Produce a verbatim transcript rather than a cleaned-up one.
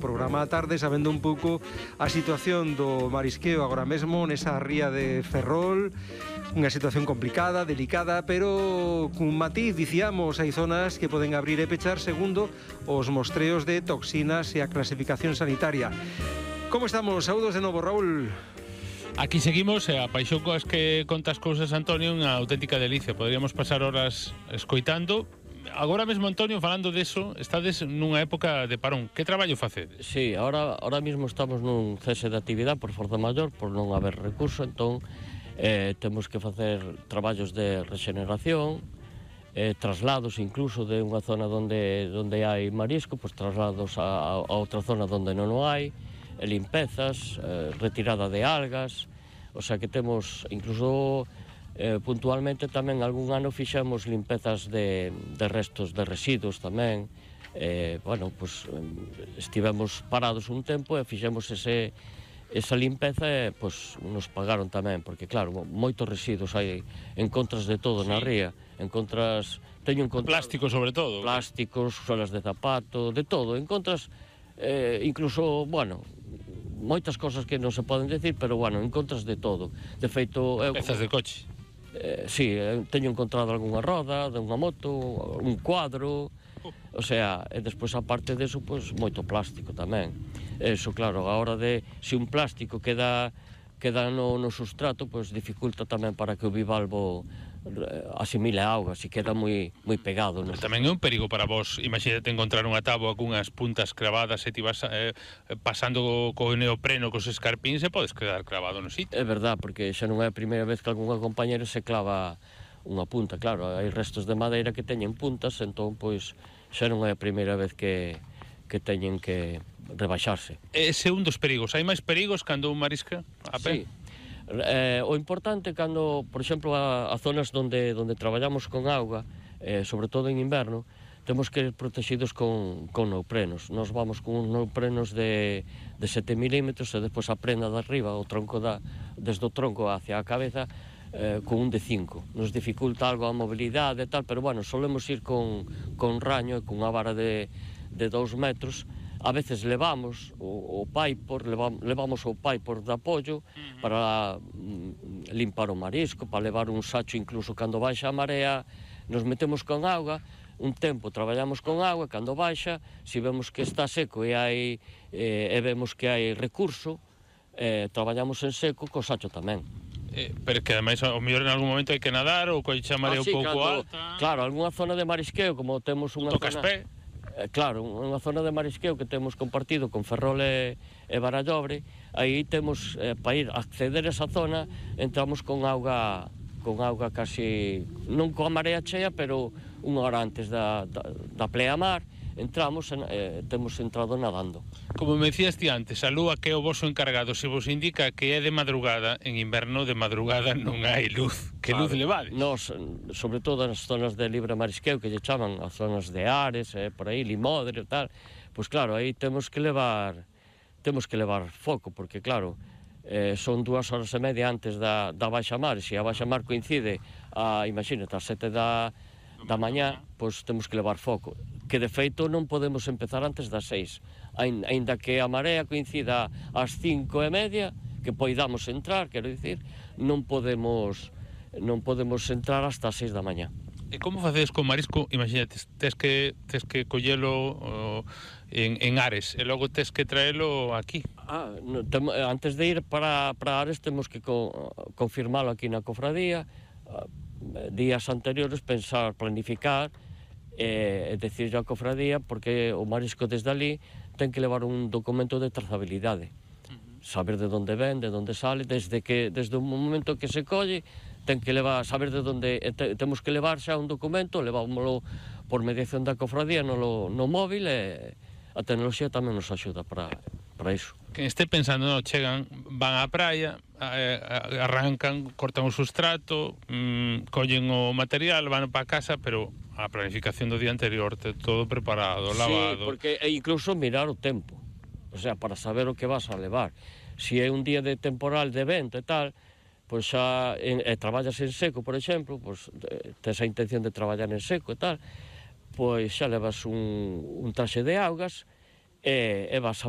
Programa a tarde sabendo un pouco a situación do marisqueo agora mesmo nesa ría de Ferrol, unha situación complicada, delicada, pero cun matiz, dicíamos, hai zonas que poden abrir e pechar segundo os mostreos de toxinas e a clasificación sanitaria. Como estamos? Saúdos de novo, Raúl. Aquí seguimos, e a paixón coas que contas cousas, Antonio, unha auténtica delicia. Poderíamos pasar horas escoitando. Agora mesmo, Antonio, falando deso, estades nunha época de parón. Que traballo facedes? Sí, ahora, ahora mismo estamos nun cese de actividade por forza maior, por non haber recurso, entón eh, temos que facer traballos de rexeneración, eh, traslados incluso de unha zona onde, onde hai marisco, pues traslados a, a outra zona onde non o hai, e limpezas, eh, retirada de algas, o sea que temos incluso... Eh, puntualmente tamén algún ano fixemos limpezas de, de restos de residuos tamén. Eh, bueno, pues, estivemos parados un tempo e fixemos ese, esa limpeza e pues, nos pagaron tamén, porque claro, moitos residuos hai, encontras de todo sí. Na ría, encontras... Teño encontrado, plástico sobre todo. Plásticos, solas de zapato, de todo, encontras eh, incluso, bueno... moitas cosas que non se poden decir, pero bueno, encontras de todo. De feito... Eu, pezas de coche. Eh, sí, teño encontrado algunha roda de unha moto, un cuadro, o sea, e despois aparte deso, pois, moito plástico tamén. Eso, claro, a hora de, se un plástico queda queda no, no sustrato, pois dificulta tamén para que o bivalvo asimile a auga, se queda moi moi pegado, non? Tamén é un perigo para vos. Imagínate encontrar unha táboa cunhas puntas cravadas e ti vas eh, pasando co neopreno, cos escarpíns, e podes quedar cravado no sitio. É verdad, porque xa non é a primeira vez que algunha compañera se clava unha punta, claro, hai restos de madeira que teñen puntas, entón, pois, xa non é a primeira vez que, que teñen que rebaixarse. Ese é un dos perigos. Hai máis perigos cando un marisca a pé? Sí. Eh, o importante cando, por exemplo, a, a zonas onde, onde traballamos con auga, eh, sobre todo en inverno, temos que ir protegidos con, con neoprenos. Nos vamos con uns neoprenos de, de sete milímetros e despois a prenda de arriba, o tronco da, desde o tronco hacia a cabeza, eh, con un de cinco. Nos dificulta algo a mobilidade e tal, pero bueno, solemos ir con, con raño e con unha vara de, de dous metros. A veces levamos o, o paipor, levamos, levamos o paipor de apoio para mm, limpar o marisco, para levar un sacho incluso cando baixa a marea, nos metemos con auga, un tempo traballamos con auga, cando baixa, se vemos que está seco e hai eh, e vemos que hai recurso, eh, traballamos en seco co sacho tamén. Eh, pero que ademais ao mellor en algún momento hai que nadar ou coiche a marea ah, sí, un pouco cando, alta. Claro, algunha zona de marisqueo, como temos unha Tocas zona... pé. Eh, claro, unha zona de marisqueo que temos compartido con Ferrol e, e Barallobre, aí temos, eh, para ir a acceder a esa zona, entramos con auga, con auga casi, non coa marea chea, pero unha hora antes da, da, da pleamar, entramos e eh, temos entrado nadando. Como me decías ti antes, a lúa que é o voso encargado, se vos indica que é de madrugada, en inverno de madrugada non hai luz. Que claro, luz levades? Nos, sobre todo nas zonas de libre marisqueo, que lle chaman as zonas de Ares, eh, por aí, Limodre e tal, pois claro, aí temos que levar temos que levar foco, porque claro, eh, son dúas horas e media antes da, da baixa mar, e se a baixa mar coincide a, imagínate, a sete da, da mañá, pois temos que levar foco, que de feito non podemos empezar antes das seis, aínda que a marea coincida ás cinco e media, que poidamos entrar, quero dicir, non podemos non podemos entrar hasta as seis da mañá. E como facedes con marisco? Imagínate, tes que, tes que collelo oh, en, en Ares e logo tes que traelo aquí. Ah, no, tem, antes de ir para, para Ares temos que co, confirmalo aquí na cofradía, uh, días anteriores pensar, planificar e, e decirle á cofradía, porque o marisco desde ali ten que levar un documento de trazabilidade, uh-huh. Saber de onde ven, de onde sale, desde que desde o momento que se colle, ten que levar, saber de onde te, temos que levar xa un documento, levámoslo por mediación da cofradía no, no móvil, e a tecnoloxía tamén nos axuda para, para iso. Quen este pensando, no, chegan, van á praia, eh, arrancan, cortan o sustrato, mmm, collen o material, van para casa, pero a planificación do día anterior, todo preparado, lavado. Sí, porque e incluso mirar o tempo, o sea, para saber o que vas a levar. Se é un día de temporal, de vento e tal, pois xa, e, e traballas en seco, por exemplo, pois tes a intención de traballar en seco e tal, pois xa levas un, un traxe de augas e, e vas a abrir.